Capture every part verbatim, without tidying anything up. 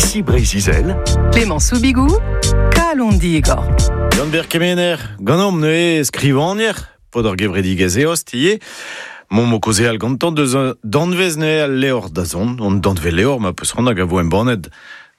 Ici Breizh-Izel. Clément Soubigou, Kalon Digor. Yann-Ber Kemener, ganeomp neuze skrivagner, paotr ar gevredigezh Eost ivez. Momp o kaozeal gantañ deus un danvez neuze al levr da zont, an danvez levr ma peus c'hoant hag a vo embannet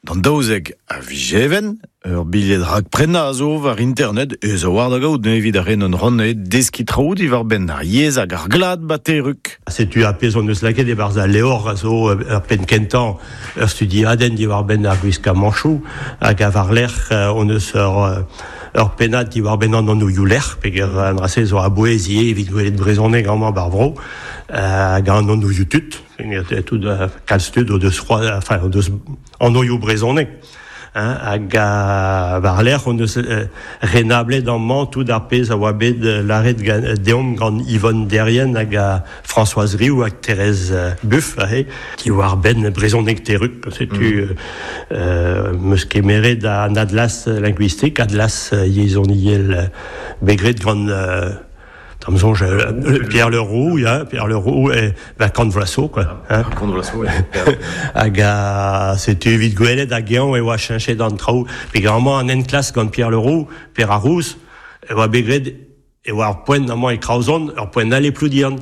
d'an daouzek a viz Even, ur bilhed rakprenañ a zo war internet, ez a war da gaout neuze evit ar re n'on c'hoant neuze deskiñ traoù diwar-benn ar yezh hag ar glad ba Terrug. Setu ar pezh hon eus lakaet e-barzh al levr a zo ur penn kentañ ur studiadenn diwar-benn ar gwiskamanchoù hag a war-lerc'h hon eus ur ur pennad diwar-benn an anvioù lec'h peger an dra-se zo a-bouez ivez evit gwelet brezhoneg amañ bar vro hag an anvioù tud tout kalz tud o deus c'hoaz enfin o deus anvioù brezhoneg hein, hag a war-lerc'h hon eus renablet amañ tout ar pezh a oa bet lâret deomp gant Yvonne Derrien hag a Françoise Riou hag Thérèse Buff aze diwar-benn brezhoneg Terrug setu mm. euh, meus kemeret an atlas linguistique atlas yezhoniel bet graet gant euh, Da'm soñj, Pierre Leroux, ya, Pierre Leroux, e ba Kant vloaz zo, quoi. Hein. Kant vloaz zo, Hag a, setu evit gwelet hag eñ e oa cheñchet an traoù. Peogwir amañ an enklask gant Pierre Leroux, Pierre ar Rouz, e oa bet graet e oa ur poent amañ e Kraozon, ur poent all e Ploudiern.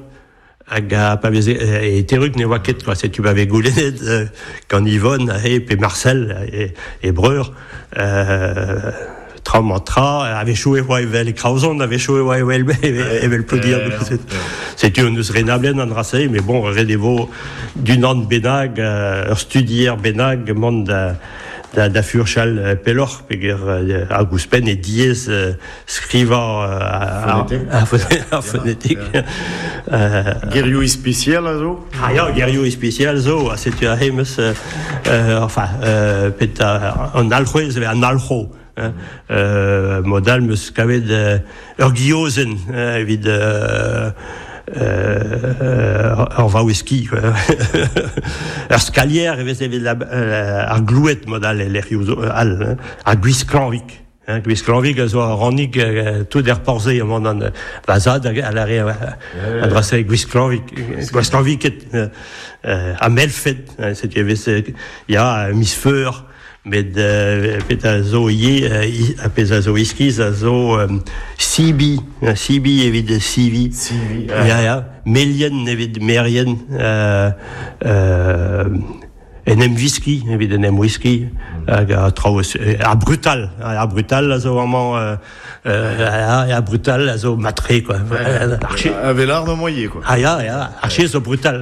Hag a pa veze e Terrug ne oa ket, quoi. Setu pa vez goulennet euh, gant Yvonne e pe Marcel e, e breur, euh, tra mañ tra, a-wechoù e oa evel e Kraozon, a-wechoù e oa evel, evel Ploudiern. Setu hon eus renablet an dra-se, mais bon, ret e vo d'unan bennak, ur studier bennak mont da, da, da furchal pelloc'h, peogwir hag ouzhpenn e diaes skrivañ ar fonetik. Gerioù ispisial a zo? Ah ya, gerioù ispisial zo, ha setu aze meus, euh, enfin, euh, pet an alc'hwez, an alc'ho. Hein. Euh, mod-all meus kavet euh, ur guillozenn euh, evit euh, euh, ur vaouez-ki quoi. Ur skalier e vez evit la, euh, ar gloued mod-all e lec'hioù zo all, hein. Ar gwisklanvig. Hein, gwisklanvig a zo ar rannig euh, tout er porzhe amañ an va zad a lâre an dra-se gwisklanvig, gwisklanviket euh, ha melfed, hein, setu e vez ya miz feur met euh, pet a zo ivez euh, a pezh a zo iskis a zo euh, sibi, sibi evit sivi. Sivi, Ya, ya, melien evit merien, euh, euh, en em viski, evit en em wiski, hag a traoù ar brutal, ar brutal a zo amañ euh, euh, ar brutal a zo matre, quoi. Ar A vel ar moye, quoi. Ah ya, ya, ar zo brutal.